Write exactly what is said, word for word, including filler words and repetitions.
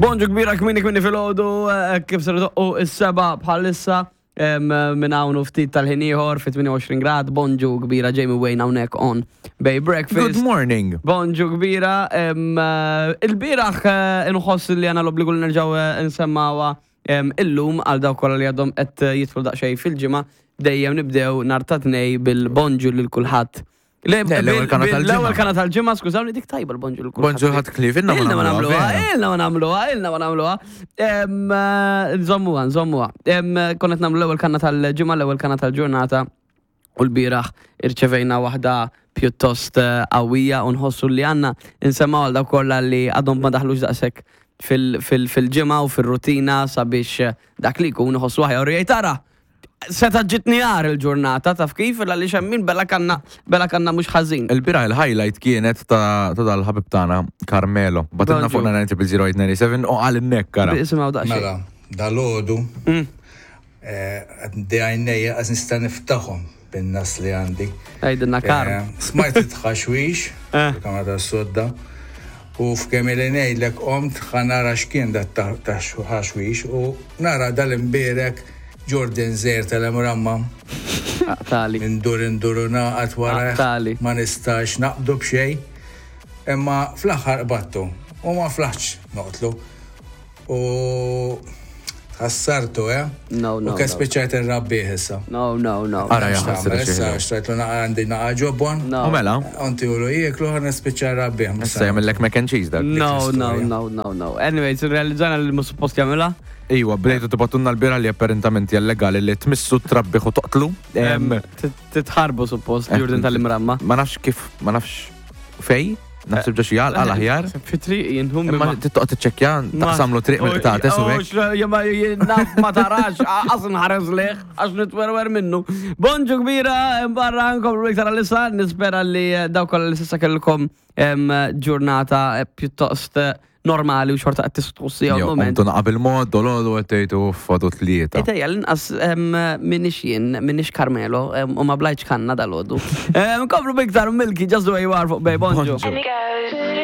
Bonġu kbira kmieni kmieni filgħodu, eh, kif ser doqqu is-sebgħa bħalissa em, minn hawn u ftit tal-ħin ieħor fi tmienja u għoxrin grad. Bonġu kbira, Jamie Wayne hawnhekk on Bay Breakfast. Good morning. Bonġu kbira. em, eh, Il-bieraħ eh, inħoss li għandna l-obbligu li nerġgħu eh, nsemmawha em, illum għal dawk kollha li għadhom qed jidħlu daqsxejn fil-ġimgħa. Dejjem nibdew nhar ta' Tnejn bil-bonġu lil kulħadd. Le, Le, l-ewwel bil- kana bil- tal-ġimgħa. L-ewwel kana tal-ġimgħa, skużawni, dik tajba l-bonġu lil kulħadd. Bonġu ħadd klif, ilna ma Ilna ma nagħmluha, nagħmluha, vera. ilna ma nagħmluha, ilna ma nagħmluha. Em, eh, Nżommuha, nżommuha. Em, Konna qed nagħmlu l-ewwel kanna tal-ġimgħa, l-ewwel kanna tal-ġurnata u l-bieraħ irċevejna waħda pjuttost eh, qawwija u nħossu li għandna nsemmaw għal dawk kollha li għadhom ma daħlux daqshekk fil- fil- fil-ġimgħa u fil-rutina sabiex eh, dak li jkun iħossu aħjar u jgħid, "Tara, seta ġitni għar il-ġurnata," taf kif, għaliex hemm min bela kanna bela kanna mhux ħażin. Il-bieraħ il-highlight kienet ta' ta' dal-ħabib tagħna Carmelo. Bagħtilna Bonġu. fuq nine zero zero eight nine seven u qal innek kara. Isimgħu daqsxejn. Mela, dal-għodu, Mm. għandi għajnejja għaz nista niftaħom bin-nas li għandi. Għidilna, Karm. Eh, Smajt it-tħaxwix, Eh. il-kamra tas-sodda, u f'kemm li ngħidlek qomt ħa nara x'kien dat taħxwix u nara dal-imbierek Jordan Zer tal-Emramma. Tali. Indur indur u naqat wara Tali. ma nistax naqbdu b'xej. Imma fl-aħħar qbattu u ma flaħx noqtlu. U ħassartu, eh? No, no, U kif no. spiċċajt irrabbih issa. No, no, no. Ara, ja, X'tagħmel ħassra xi issa ħelu. xtrajtlu naqa għandi naqa ġobon. No. U mela, Onti u jieklu ħa nispiċċa rrabbih. issa jagħmellek mac and cheese dak. No, no, istorja. no, no, no. Anyways, realizzajna li mhux suppost jagħmilha. Iwa, bdejtu tibagħtulna l-bieraħ li apparentament hija legali li tmissu, trabbih u toqtlu. Em, Titħarbu suppost, Jordan tal-Imramma. Ma nafx kif, ma nafx fej, naħseb ġo xi għal aħjar. Fi triq jinhum. Imma tittoq tiċċekkja, taqsamlu triq mill-qtates u hekk. Jema naf ma tarax, għas nħares leħ, għax nitwerwer minnu. Bonġu kbira, barra nkomplu iktar għalissa, nispera li dawk kollha li s'issa kellkom em, ġurnata eh, pjuttost eh, normali u xorta qed tistqussi għal Jo, moment. qomtu naqa bil-mod, dolodu għed tgħidu fadu tlieta. Ejja, l-inqas m'iniex jien, m'iniex Carmelo, em, u ma blajtx kanna dal-għodu. Nkomplu biktar Milky, Just the Way You Are fuq Bay. Bonġu. Bonġu. And it goes.